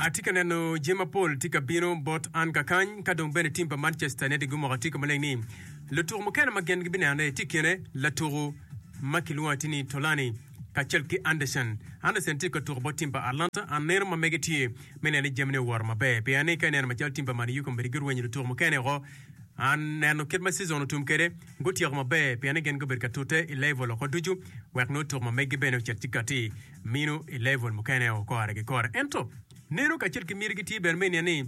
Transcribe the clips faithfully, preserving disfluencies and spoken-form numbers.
Atye ka neno jami mapol tye ka bino bot an kakany ka dong bene tim pa Manchester United gumoko atika maleng ni lutuku mukene ma gin gibinenone tye i kine latuku ma kilwongo atir ni Tolani kacel ki Anderson. Anderson tye ka tuko bot tim pa Atlanta. An neno ma mege tye me neno ni jamine owoto maber pien ni ka ineno macalo tim pa Man U kombeddi gurwenyo lutuku mukene woko. An neno kit ma season otum kwede gutyeko maber pien ni gin gubedo ka tute i level oko ducu wek nongo tuko ma meggi bene ocit ci kati mino i level mukene o kore ki kore. Ento neno kacel ki mitigi tye bene me niang ni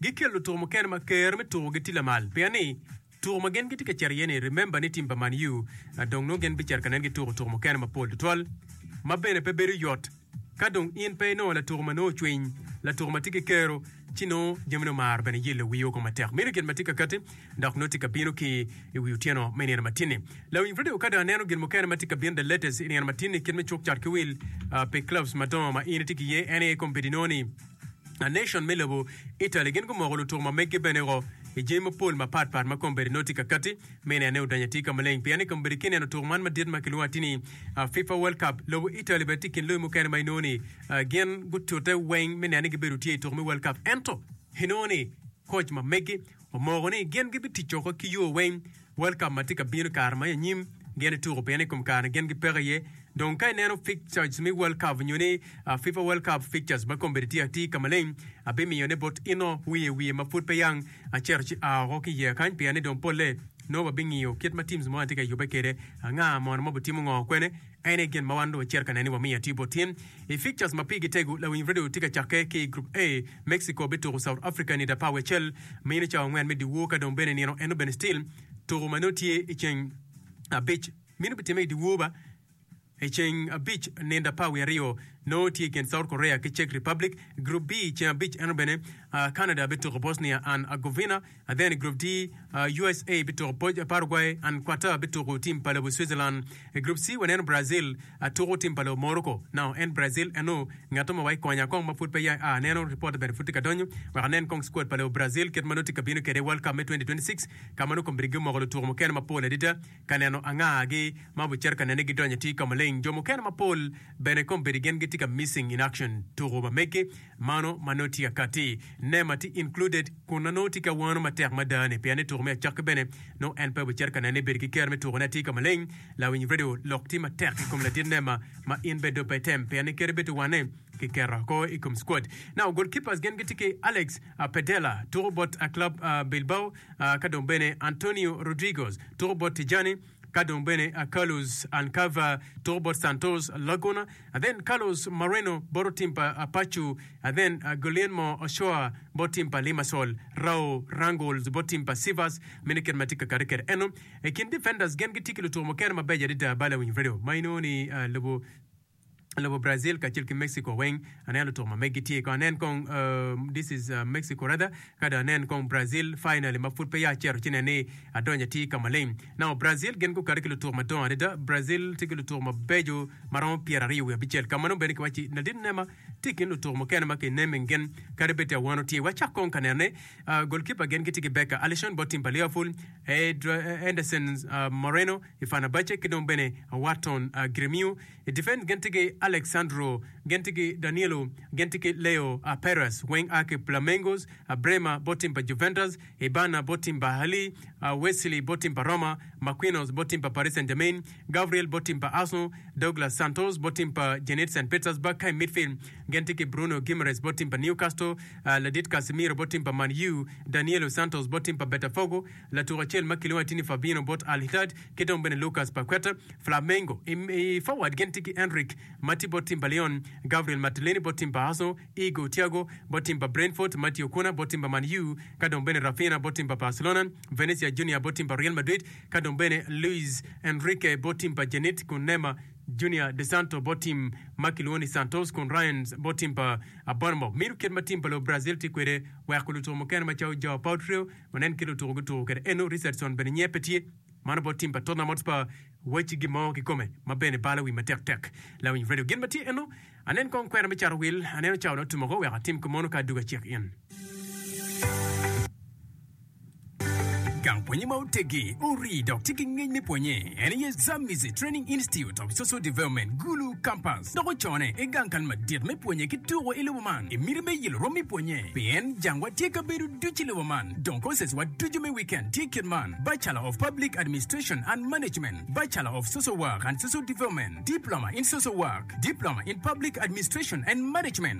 gikelo lutuko mukene ma ker me tukogi tye lamal pien ni tuko ma gin gitye ka cito iye ni remember ni tim pa Man U dong nongo gin bicito ka nen gituko tuko mukene mapol tutwal ma bene pe bedo yot. Ka dong in pe inongo latuko ma nongo ocwiny, latuko ma tye ki kero, ci nongo jamine omaro bene yelo wii woko matek. Meno gin ma tye ka katti dok nongo tye ka bino ki i wi otyeno me nino matin-ni. Lawiny radio ka dong aneno gin mukene ma tye ka bino the latest i nino matin-ni kit me cuk cat ki wil pi clubs madongo ma in itye ki iye en aye kombeddi nongo ni A Nation me lobo Italy gin gumoko lutuku ma meggi bene woko i jami mapol mapat pat ma kombeddi nongo tye ka katti me nene odonyo atir ka maleng pien ni kombeddi ki neno tuku man madit ma kilwongo atir ni FIFA World Cup lobo Italy bene tye i kin lobi mukene ma inongo ni gin gutute weng me neno ni gibedo tye i tuku me World Cup ento inongo ni koc ma meggi omoko ni gin gibitic woko ki yo weng World Cup ma tye ka bino i kare ma i anyim gin ituko pien i kom kare-ni gin gipeke iye. Dong ka ineno fixtures me World Cup nyo ni FIFA World Cup fixtures ma kombeddi tye atir ka maleng, abimiyone bot ino wiye wiye ma pud pe yang acito ci aa oko ki iye kany pien ni dong polle nongo wabingiyo kit ma teams mo tye ka yubbe kwede, anga mono ma obitimo ngo kwene. En aye gin ma wan dong wacito ka neno ni wamiyo atir bot tin. I fixtures ma pigi tego, lawiny radio tye ka cakke ki i Group A, Mexico bituko South Africa nida apar wiye acel mino cawa angwen me dyewor ka dong bene nino eno bene still tuko ma nongo tye i ceng abic mino bitimme i dyewor ba i ceng abic nindo apar wiye aryo nongo tye i kin South Korea ki Czech Republic. Group B ceng abic eno bene Canada bituko Bosnia and Herzegovina then i Group D USA bituko Paraguay and Qatar bituko team pa lobo Switzerland. I Group C waneno Brazil tuko team pa lobo Morocco. Now en Brazil eno ngat mo wa ikonya kong ma pud pe ya a aneno report bene pud tye ka donyo wek anen kong squad pa lobo Brazil kit ma nongo tye ka bino kwede i World Cup me twenty twenty six ka ma nongo kombeddi gimoko lutuko mukene mapol adada ka neno angagi ma obicito ka nene gidonyo atir ka maleng. Jo mukene mapol bene kombeddi gin gitye ka missing in action tuko ma megi mano ma nongo tye ka katti. Neymar tye included kun na nongo tye ki awano matek mada ni pien ni tuko me acakki bene nongo en pe obicito ka nene bedo ki kero me tukone atir ka maleng. Lawiny radio lok tye matek i kom ladit Neymar ma in bene dong pe item pien ni kadi bed ti wane kiketo oko i kom squad. Now goalkeepers gin gitye ki Alex Pedella tuko bot club Bilbao ka dong bene Antonio Rodriguez tuko bot Tijani ka dong bene Carlos Alcava tuko bot Santos Laguna and then Carlos Moreno bot tim pa Pachu and then Guillermo Ochoa bot tim pa Limassol Raul Rangels bot tim pa Sivas meno kit ma tye ka kati kwede eno i kin defenders gin gitye ki lutuko mukene mabeco adada bala winyo radio ma inongo ni lobo lobo Brazil kacel ki Mexico weng aneno lutuko ma megi tye kong anen kong this is Mexico rather ka dong anen kong Brazil finally ma pud pe ya acito ci nen ni adonyo atir ka maleng now Brazil gin gukato ki lutuko madongo adada Brazil tye ki lutuko mabeco ma romo pyeraryo wiye abicel ka ma nongo bene kiwaci ladit Neymar tye i kin lutuko mukene ma ki naming gin kadi bed tye awano tye wacak kong ka nenone goalkeeper gin gitye ki Becker Alisson bot team pa Liverpool Anderson Moreno i Fenerbahce ki dong bene Warton Gremio I difens gin tye ki Alex Sandro, gin tye ki Danilo, gin tye ki Leo Perez weng a ki Flamengos, Bremer bot tim pa Juventus, Ibana bot tim pa Ahly, Wesley bot tim pa Roma, Marquinhos bot tim pa Paris Saint-Germain, Gabriel bot tim pa Arsenal, Douglas Santos bot tim pa Zenit Saint Petersburg ka i midfield gin tye ki Bruno Guimaraes bot tim pa Newcastle, ladit Casemiro bot tim pa Man U, Danielo Santos bot tim pa Botafogo, Latuko acel ma kilwongo atir ni Fabinho bot Al Ittihad ki dong bene Lucas Paqueta, Flamengo. I forward gin tye ki Endrick ma tye bot tim pa Lyon, Gabriel Martinelli bot tim pa Arsenal, Igor Thiago bot tim pa Brentford, Mathew Cunha bot tim pa Man U ka dong bene Raphinha bot tim pa Barcelona, Vinicius Junior bot tim pa Real Madrid ka dong bene Luiz Henrique bot tim pa Zenit kun Neymar Junior dos Santos bot tim ma kilwongo ni Santos kun Ryans bot tim pa Bournemouth. Mito kit ma tim pa lobo Brazil tye kwede weko lutuko mukene macalo Joao Pedro Wanen kit lutuku gutuku kwede eno, Richardson bene nyiye pe tye. Mano bot tim pa Tottenham Hotspur wacci gin mo kikome ma bene balo wi matek tek. Lawiny radio gin ma tye eno, anen kong kwena me cato wil, aneno cawa dong otum oko wek atim kumono ka adugo acek in. Gang pwonye ma otegi, ori dok tye ki ngec me pwonye. En aye Zambezi Training Institute of Social Development, Gulu Campus. Dok ocone i gang kal madit me pwonye ki tuko i lobo man. I miti me yelo rom me pwonye. Pien jangwa tye kabedo ducu i lobo man. Dong courses wa ducu me weekend tye kit man. Bachelor of Public Administration and Management, Bachelor of Social Work and Social Development, Diploma in Social Work, Diploma in Public Administration and Management.